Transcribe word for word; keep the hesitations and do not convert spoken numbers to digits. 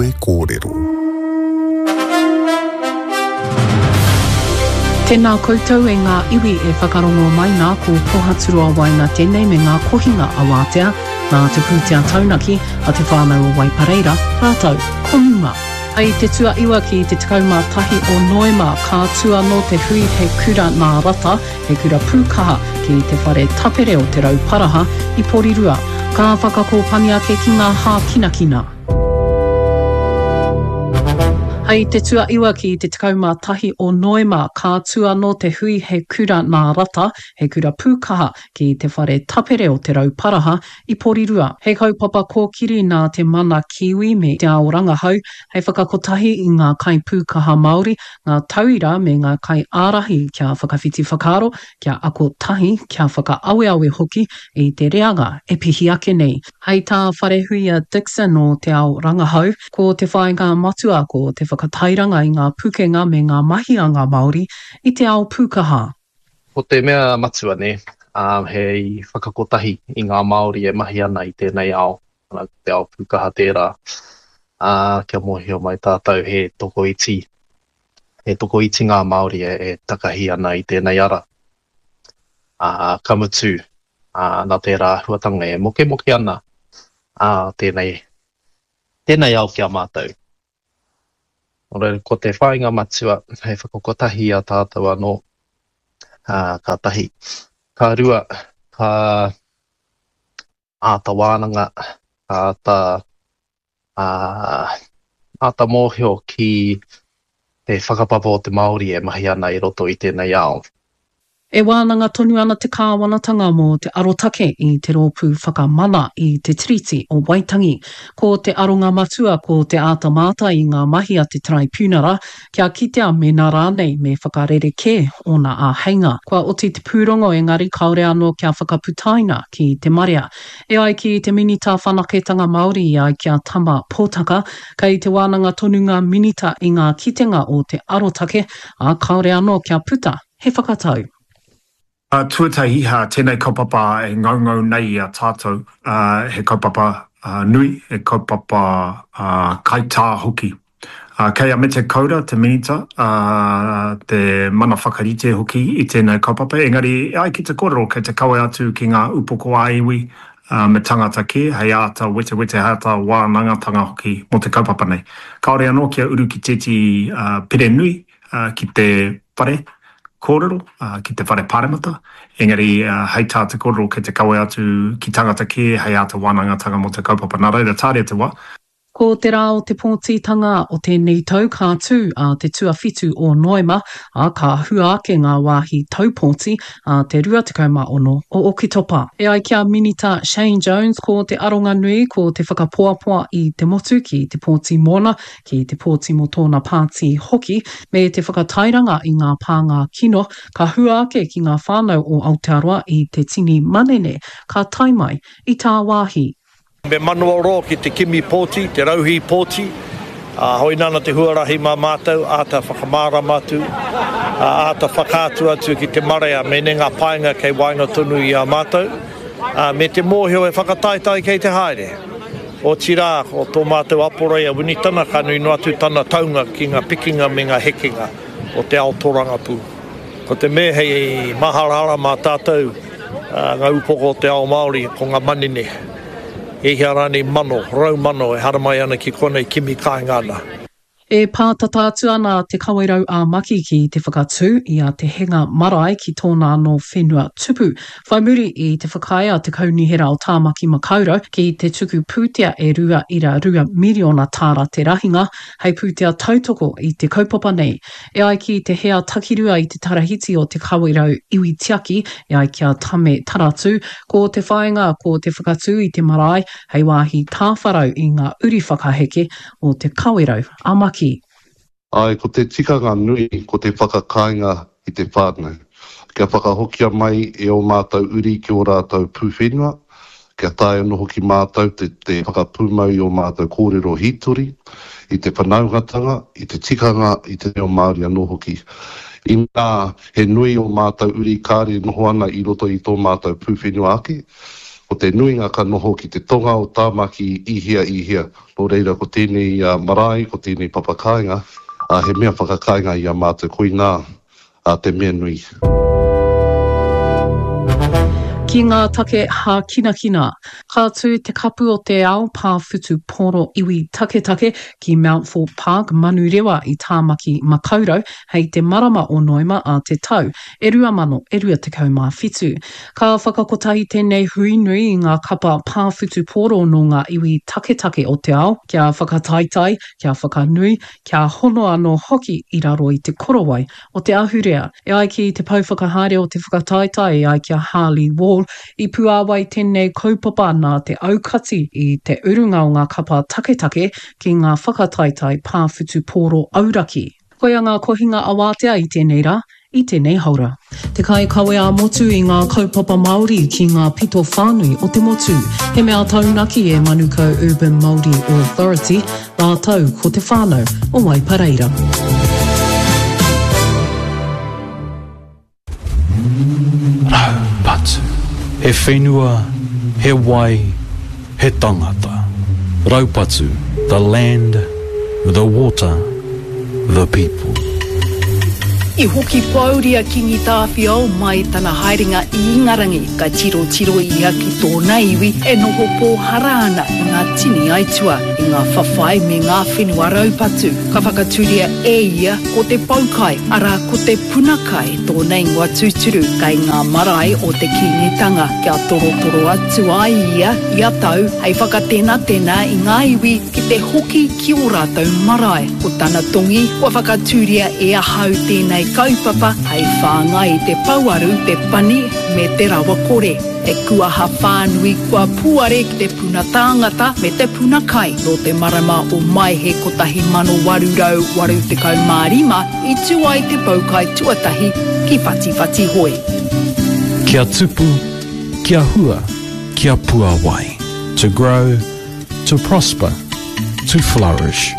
Kawe Kōrero. Tēnā koutou e ngā iwi e whakarongo mai nā, ko Pohaturoa Waina tēnei me ngā kohinga a Wātea, nā te pūtea taunaki a te whānau o Waipareira, rātou ko Muma. Hei te tuaiwa ki te tekau mā tahi o Noema, ka tū anō te hui He Kura Nā Rata, He Kura Pūkaha ki te whare tapere o Te Rauparaha i Porirua. Ka whakakōpani ake ki ngā hākinakina. Hei te tuaiwa ki te tekau mā tahi o Noema, ka tū anō te hui He Kura Nā Rata, He Kura Pūkaha ki te whare tapere o Te Rauparaha i Porirua. He kaupapa kōkiri nā te mana Kiwi me te ao rangahau hei whakakotahi i ngā kaipūkaha Māori, ngā tauira me ngā kaiārahi kia whakawhiti whakaaro, kia ako tahi, kia whakaaweawe hoki i te reanga e pihi ake nei. Hei tā Wharehuia Dixon o Te Ao Rangahau, ko te whāinga matua ko te whakatairanga i ngā pukenga me ngā mahi a ngā Māori i te ao pūkaha. Ko te mea matua nē, hei whakakotahi i ngā Māori e mahi ana i tēnei ao, ko te ao pūkaha tērā, ā, kia mōhio mai tātou he tokoiti, he tokoiti ngā Māori e, e takahi ana i tēnei ara. Ā, ka mutu, ā, nā tērā āhuatanga e mokemoke ana, ā, tēnei, tēnei ao ki a mātou. Nō reira, ko te whāinga matua hei whakakotahi i a tātou anō, ā, ka tahi. Ka rua, ka āta wānanga, ka āta, ā, āta mōhio ki te whakapapa o te Māori e mahi ana i roto i tēnei ao. E wānanga tonu ana te kāwanatanga mō te arotake i te Rōpū Whakamana i te Tiriti o Waitangi. Ko te aronga matua ko te āta mātai i ngā mahi a te Taraipiunara kia kitea mēnā rānei me whakarerekē ōna āheinga. Kua oti te pūrongo engari kāore anō kia whakaputaina ki te marea. E ai ki te Minita Whanaketanga Māori i ai ki a Tama Potaka, kei te wānanga tonu ngā minita i ngā kitenga o te arotake, ā, kāore anō kia puta he whakatau. Tuatahi, tēnei kaupapa e ngaungau nei i a tātou, he kaupapa nui, he kaupapa kaitā hoki. Kei a Mete Kaura, te Minita, te mana whakarite hoki i tēnei kaupapa, engari e ai ki te kōrero kei te kawe atu ki ngā upoko ā-iwi me tangata kē hei āta wetewete, hei āta wānangatanga hoki mō te kaupapa nei. Kāore anō kia uru ki tētehi pire nui ki te whare kōrero, ki te whare paremata, engari hei tā te kōrero kei te kawe atu ki tangata kē hei āta wānangatanga mō te kaupapa. Nā reira, tāria te wā. Ko te rā o te pōtitanga o tēnei tau ka tū ā te tuawhitu o Noema, ā, ka hua ake ngā wāhi taupōti ā te rua tekau mā ono o Oketopa. E ai ki a Minita Shane Jones, ko te aronga nui ko te whakapoapoa i te motu ki te pōti mōna, ki te pōti mō tōna pāti hoki, me te whakatairanga i ngā pānga kino ka hua ake ki ngā whānau o Aotearoa i te tini manene ka tae mai i tāwāhi. Me manawaroa ki te kimi pōti, te rauhī pōti, ā, hoina ana te huarahi mā mātou, āta whakamārama atu, ā, āta whakaatu atu ki te marea mēnei ngā painga kei waenga tonu i a mātou, ā, me te mōhio he whakataetae kei te haere. Otirā, ko tō mātou aporei a Winitana ka nui noa atu tana taunga ki ngā pikinga me ngā hekenga o te ao tōrangapū. Ko te mea hei māharahara mā tātou ngā upoko o te ao Māori ko ngā manene, e hia rānei mano, rau mano e haramai ana ki konei kimi kāinga ana. E pātata atu ana Te Kawerau ā Maki ki te whakatū i a Te Henga Marae ki tōna anō whenua tupu, whai muri i te whakaae a Te Kaunihera o Tāmaki Makaurau ki te tuku pūtea e rua ira rua miriona tāra te rahinga hei pūtea tautoko i te kaupapa nei. E ai ki te hea takirua i te tarahiti o Te Kawerau Iwi Tiaki, e ai ki a Tame Taratū, ko te whāinga ko te whakatū i te marae hei wāhi tāwharau i ngā uri whakaheke o Te Kawerau a Maki. Āe, ko te tikanga nui ko te whakakāinga i te whānau. Kia whakahokia mai e ō mātou uri ki ō rātou pūwhenua, kia taea anō hoki mātou te te whakapūmau i ō mātou kōrero hītori, i te whanaungatanga, i te tikanga, i te reo Māori anō hoki. Inā he nui ō mātou uri kāre noho ana i roto i tō mātou pūwhenua ake, Ko te nuinga ka noho ki te tonga o Tāmaki i hea i hea. Nō reira ko tēnei marae, ko tēnei papakāinga, he mea whakakāinga i a mātou, koinā te mea nui. Ki ngā take hākinakina, ka tū te Kapu o te Ao Pā Whutupōro Iwi Taketake ki Mountfort Park, Manurewa i Tāmaki Makaurau hei te marama o Noema a te tau e rua mano e rua tekau mā whitu. Ka whakakotahi tēnei hui nui i ngā kapa pā whutupōro nō ngā iwi taketake o te ao kia whakataetae, kia whakanui, kia hono anō hoki i raro i te korowai o te ahurea. E ai ki te pou whakahaere o te whakataetae e ai ki a Harley Wall, i puāwai tēnei kaupapa nā te aukati i te urunga o ngā kapa taketake ki ngā whakataetae pā whutupōro auraki. Koia ngā kohinga awātea i tēnei rā, i tēnei haora. Te kaikawe ā-motu i ngā kaupapa Māori ki ngā pito whānui o te motu. He mea taunaki e Manukau Urban Māori Authority rātou ko te whānau o Waipareira. Raupatu. He whenua, he wai, he tangata. Raupatu, the land, the water, the people. I hoki pōuri a Kīngi Tāwhiao mai i tana haerenga i Ingarangi, ka tirotiro ia ki tōna iwi e noho pōhara ana i ngā tini aitua, i ngā whawhai me ngā whenua raupatu. Ka whakatūria e ia ko te poukai, arā ko te puna kai tōna ingoa tūturu, kei ngā marae o te Kīngitanga, kia torotoro atu ai ia ia tau hei whakatenatena i ngā iwi ki te hoki ki ō rātou marae. Ko tana tongi, kua whakatūria e ahau tēnei kaupapa hei whāngai i te pouaru, te pani me te rawakore. He kuaha whānui kua puare ki te puna tāngata me te puna kai. Nō te marama o Maehe kotahi mano waru rau waru tekau mā rima i tū ai te poukai tuatahi ki Whatiwhatihoe. Kia tupu, kia hua, kia puawai. To grow, to prosper, to flourish.